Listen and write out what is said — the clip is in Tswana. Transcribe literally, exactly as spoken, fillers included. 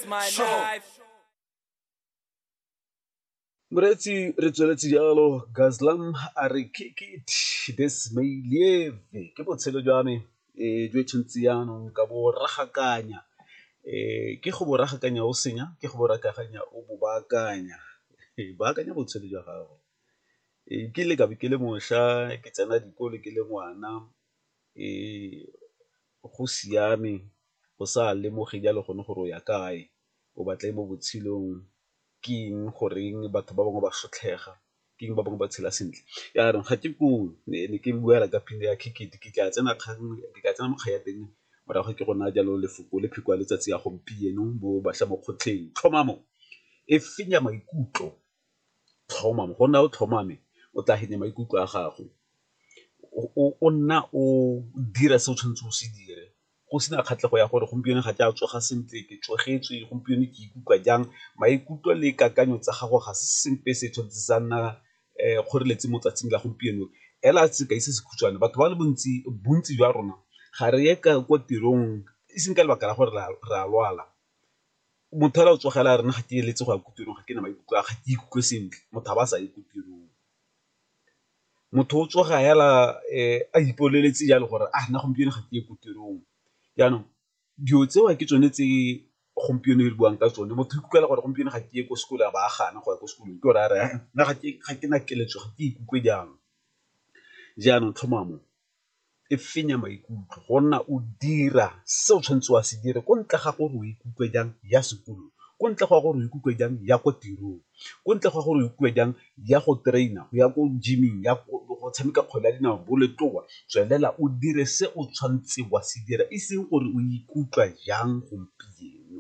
my life. Moreetsi, re tsweletse jalo. Gazlam a re kick it, this may live, ke botshelo jwa me um jo tshwanetse jaanong ka bo ragakanya, um ke go bo ragakanya o senya, ke go bo ragakanya o bo baakanya, baakanya botshelo jwa gago. Ee, ke ile ka be ke le mošwa ke tsena dikolo ke le ngwana, go siame go sa lemoge jalo gone gore o ya kae, o batla eng mo botshelong, ke eng goreng batho ba bangwe ba sotlhega, ke eng ba bangwe ba tshela sentle. Jaanong ga ke koo, ne ke bua ka pina ya Kick It, ke tla tsena kgang ke tla tsena mo kgang ya teng morago ke go naya jalo lefoko le pheko ya letsatsi ya gompieno mo bašwa mo kgotlheng. Tlhomamo e fenya maikutlo, tlhomamo go nna o tlhomame o tla fenya maikutlo a gago, o nna o dira se o tshwanetseng o se dire go sena kgatlhego ya gore gompieno ga ke a tsoga sentle ke tsogetswe gompieno ke ikutlwa jang, maikutlo le kakanyo tsa gago ga se sepe se tshwanetse sa nna kgoreletsi mo 'tsatsing la gompieno. Ela sekai se se khutshwane, batho ba le bontsi, bontsi jwa rona ga re ye kwa tirong e seng ka lebaka la gore re a lwala, motho fela o tsogela a re nna ga ke eletse go ya ko tirong ga ke na maikutlo a ga ke ikutlwe sentle, motho a ba a sa ye ko tirong. Motho o tsoga fela a ipoleletse jalo gore a nna gompieno ga ke ye ko tirong, jaanong dilo tseo ke tsone tse gompieno re buang ka tsone, motho o ikutlwela gore gompieno ga ke ye ko sekolong a ba a gana go ya ko sekolong ke gore a re nna ga ke na keletso ga ke ikutlwe jang. Jaanong tlhomamo e fenya maikutlo go nna o dira se o tshwanetseng wa se dire ko ntle ga gore o ikutlwe jang ya sekolong, ko ntle ga gore o ikutlwe jang ya ko tirong, ko ntle ga gore o ikutlwe jang ya go train-a, ya ko gym-ing, ya go tshameka kgwele ya dinao, bolotloa, tswelela o dire se o tshwanetseng wa se dira e seng gore o ikutlwa jang gompieno.